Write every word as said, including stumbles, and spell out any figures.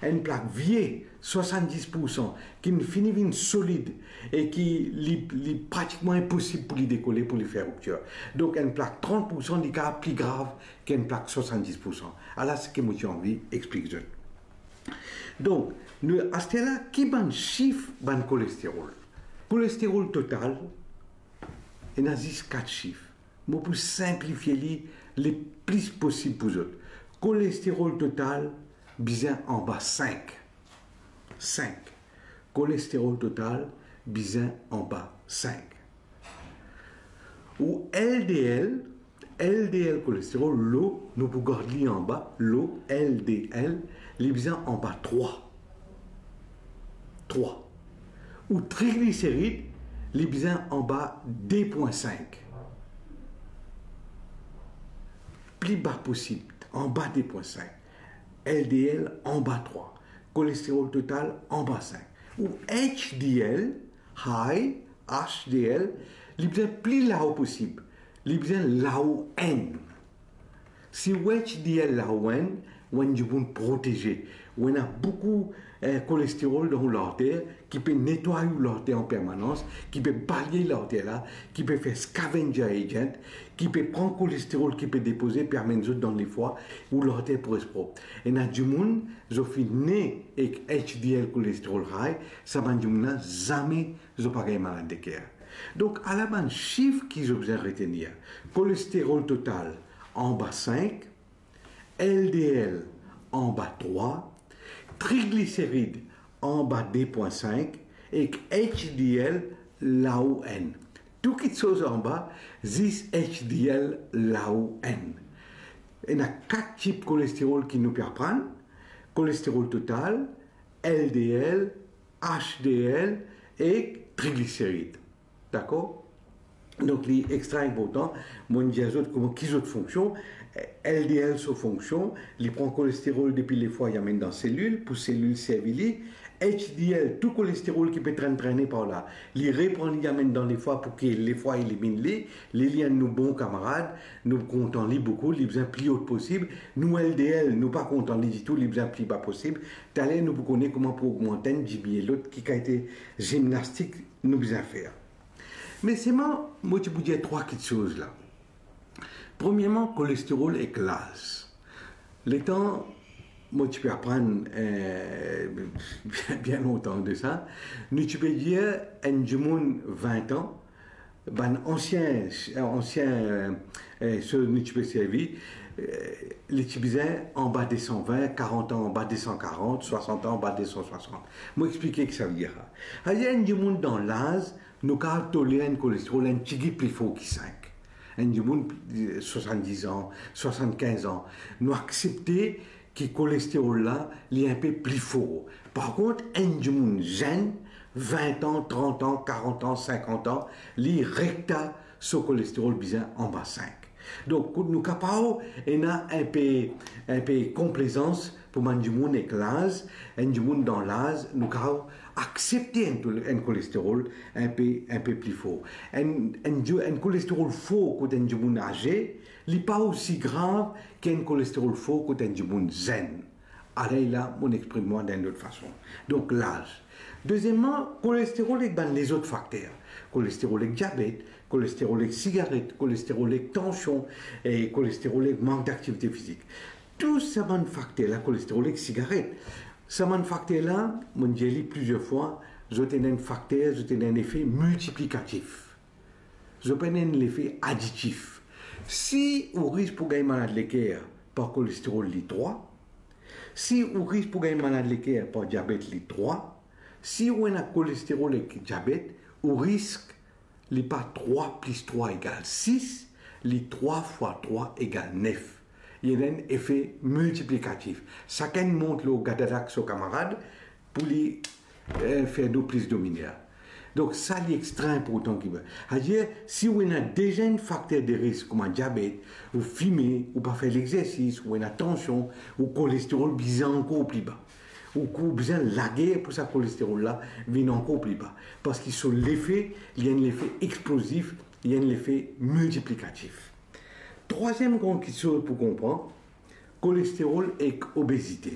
Enn plak vie, swasanndis poursan, ki finn fini vinn solid e ki li, li pratikman inposib pou li dekole, pou li fer riptir. Donk enn plak trant poursan, li kapav pli grav ki enn plak swasanndis poursan. Ala seki mo ti anvi explik zot. Donk, nou, aster la, ki bann sif bann kolesterol? Kolesterol total, ena zis kat sif. Mo pou sinplifie li le plis posib pou zot. Kolesterol total bizin anba sink. Sink. Kolesterol total bizin anba sink. Ou L D L, L D L kolesterol, lo, nou pou gard li anba, lo L D L, li bizin anba trwa. Trwa. Ou trigliserid, li bizin anba de pwin sink. Pli ba posib, anba de pwin sink. L D L anba trwa. Kolesterol total anba sink. Ou H D L, high, H D L, li bizin pli lao posib. Li bizin lao enn. Si ou H D L lao enn, ou enn dimoun proteze. Ou ena boukou, eh, kolesterol dan ou larter ki pe netway ou larter an permanans, ki pe balye larter la, ki pe fer scavenger agent, ki pe pran kolesterol ki pe depoze, pe amenn zot dan lefwa, ou larter pou res prop. Ena dimoun, zot finn ne ek H D L kolesterol high, sa bann dimoun la zame zot pa gagn malad leker. Donk, ala bann sif ki zot bizin retenir. Kolesterol total anba sink, L D L anba trwa, trigliserid anba de pwin sink ek H D L lao enn. Tou kitsoz anba, zis H D L lao enn. Ena kat tip kolesterol ki nou pe aprann, kolesterol total, L D L, H D L ek trigliserid. Dakor? Donk, li extra inportan, mo dir zot kouma ki zot fonksion, L D L so fonksion, li pran kolesterol depi lefwa, li amenn dan selil, pou selil servi li, H D L, tou kolesterol ki pe trenn trene par la, li repran li, li amenn dan lefwa pou ki lefwa eliminn li, li, li enn nou bon kamarad, nou kontan li boukou, li bizin pli ot posib, nou L D L, nou pa kontan li ditou, li bizin pli ba posib. Taler nou pou kone kouma pou ogmant enn, dimnie lot, ki kalite zimnastik nou bizin fer. Me selman, mo ti pou dir trwa kitsoz la. Premierman, kolesterol ek laz. Letan mo ti pe aprann, eh, bien, bien lontan de sa, nou ti pe dir enn dimoun vin an, bann ansien, ansien, eh, so nou ti pe servi, eh, li ti bizin anba de san vin, karant an anba de san karant, swasant an anba de san swasant. Mo explike ki savedir sa. Savedir enn dimoun dan laz, nou kapav toler enn kolesterol enn tigit pli for ki sink. Enn dimoun, eh, swasanndiz an, swasannkinz an, nou aksepte ki kolesterol la, li inpe pli for. Par kont, enn dimoun zenn, vin an, trant an, karant an, sinkant an, li rekta so kolesterol bizin anba sink. Donk, kot nou kapav ena inpe, inpe konplezans pou bann dimoun ek laz, enn dimoun dan laz, nou kapav aksepte enn tol-, enn kolesterol inpe, inpe pli for. Enn, enn di-, enn kolesterol for kot enn dimoun aze, li pa osi grav ki enn kolesterol for kot enn dimoun zenn. Aler la, mo exprim mwa dan enn lot fason. Donk, laz. Dezieman, kolesterol ek bann lezot fakter. Kolesterol ek diabet, kolesterol ek sigaret, kolesterol ek tansion, e kolesterol ek mank daktivite fizik. Tou sa bann fakter la, kolesterol ek sigaret, sa bann fakter la, mo dir li plizier fwa, zot ena enn fakter, zot ena enn lefe miltiplikatif. Zot pa ena enn lefe aditif. Si ou risk pou gagn malad leker par kolesterol li trwa, si ou risk pou gagn malad leker par diabet li trwa, si ou ena kolesterol ek diabet, ou risk li pa trwa plis trwa egal sis, li trwa fwa trwa egal nef. Li ena enn lefe miltiplikatif. Sakenn mont lor gadadak so kamarad pou li, eh, fer do plis dominer. Donk, sa li extra inportan ki, savedir, si ou ena deza enn fakter de risk kouma diabet, ou fime, ou pa fer lexersis, ou ena tansion, ou kolesterol bizin ankor pli ba. Ou, ou bizin lager pou sa kolesterol la vinn ankor pli ba. Parski so lefe, li enn lefe explozif, li enn lefe miltiplikatif. Trwaziem gran kitsoz pou konpran, kolesterol ek obezite.